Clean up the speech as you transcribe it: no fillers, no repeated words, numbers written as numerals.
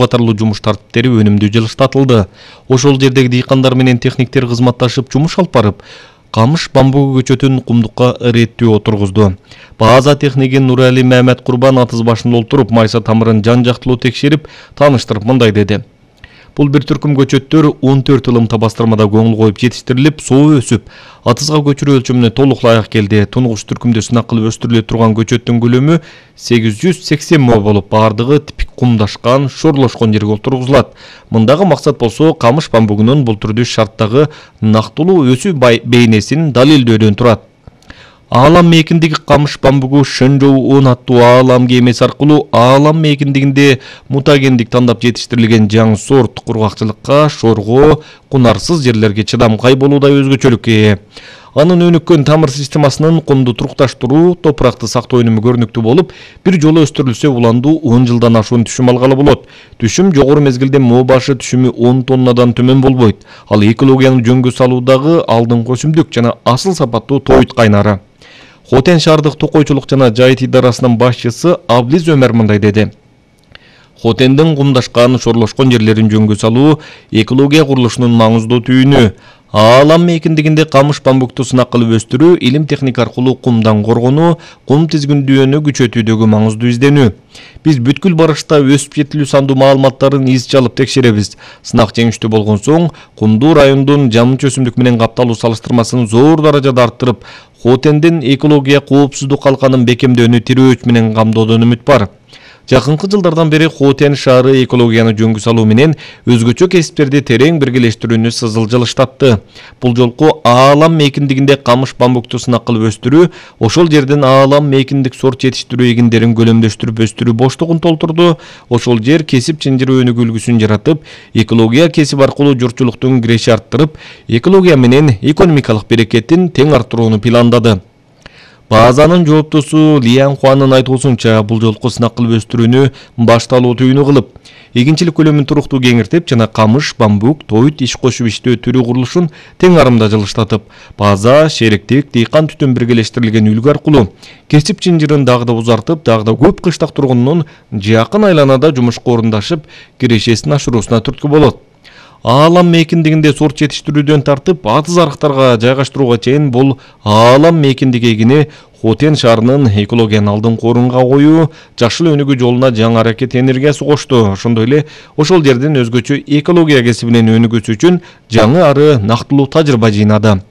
катарлуу жумуш тартиптери өнүмдүү жылыштатылды. Ошол жердеги дыйкандар менен техниктер кызматташып жумуш алып барып, камыш бамбугу көчөтүн кумдукка иреттүү отургузду. База техниги Нурали Мамед Курбан атыз башында олтуруп, майса тамырын жан-жактылуу текшерип, тааныштырып мындай деди. Бул бир түркүм көчөттөр 14 ылымта бастырмада көңүл коюп жетиштирилип, соо өсүп, атызга көчүрүү өлчөмүнө толук ылайык келди. Тунгуч түркүмдө сынак кылып өстүрүлө турган көчөттүн көлөмү 880 мо болуп, бардыгы типик кумдашкан, шорлошкон жерге отургузулат. Мындагы максат болсо камыш бамбугунун бул түрдүү шарттагы нактылуу өсүү бейнесин далилдөөдөн турат. Аалам мейкиндеги камыш бамбугу Шэнжоу 10 аттуу аалам кемеси аркылуу аалам мейкиндигинде мутагендик тандап жетиштирилген жаңы сорт кургакчылыкка, шорго, кунарсыз жерлерге чыдамкай болуудай өзгөчөлүккө ээ. Анын өнүккөн тамыр системасынын кумду турукташтыруу, топуракты сактоо өнүмү көрүнүктүү болуп, бир жолу өстүрүлсө уланду 10 жылдан ашуун түшүм алгалы болот. Түшүм жогору мезгилде мо башы түшүмү 10 тоннадан төмөн болбойт. Ал экологияны жөнгө салуудагы алдыңкы өсүмдүк жана асыл сапаттуу тоют кайнары. Хотен шаардык токойчулук жана жайыт идарасынын башчысы Аблиз Өмөр мындай деди. Хотендин кумдашкан, шорлошкон жерлерин жөнгө салуу экология курулушунун маңыздуу түйүнү. Аалам мейкиндигинде камыш бамбукту сынак кылып өстүрүү, илим техника аркылуу кумдан коргонуу, кум тизгиндүүнү күчөтүүдөгү маңыздуу изденүү. Биз бүткүл барышта өсүп жетилүү сандуу маалыматтарын из чалып текшеребиз. Сынак жеңиштүү болгон соң, кумдуу райондун жамынча өсүмдүк менен капталуу салыштырмасын зор даражада арттырып, Хотендин экология коопсуздук калканын бекемдөөнү тирөөч менен камдоодон үмүт бар. Жакынкы жылдардан бери Хотен шаары экологияны жөнгө салуу менен өзгөчө кесиптерди терең биргелештирүүнү сызыл жылыштатты. Бул жолку аалам мейкиндигинде камыш бамбукту сынак кылып өстүрүү, ошол жерден аалам мейкиндик сорт жетиштирүү эгиндерин көлөмдөштүрүп өстүрүү боштугун толтурду. Ошол жер кесип чынжыруу өнүгүү үлгүсүн жаратып, экология кесип аркылуу журтчулуктун киреши арттырып, экология менен экономикалык берекетин тең арттырууну пландады. Базанын жооптусу Лиян Хуанын айтуусунча, бул жолку сынак кылып өстүрүүнү башталуу түйүнү кылып, эгинчилик көлөмүн туруктуу кеңиртип жана камыш, бамбук, тоют иш кошуп иштөө түрү курулушун тең арымда жылыштатып, база, шериктик, дыйкан түтүн биргелештирилген үлгү аркылуу кесип чынжырын дагы да узартып, дагы да көп кыштак тургунунун жакын айланада жумушка орундашып, кирешесин ашыруусуна түрткү болот. Аалам мейкиндигинде сорт жетиштирүүдөн тартып, атыз арыктарга жайгаштырууга чейин бул аалам мейкиндиги эгини Хотен шаарынын экологияны алдыңкы орунга коюу, жашыл өнүгүү жолуна жаңы аракет энергиясы кошту. Ошондой эле ошол жерден өзгөчө экология кесибинен өнүгүүсү үчүн жаңы ары нактылуу тажрыйба жыйнады.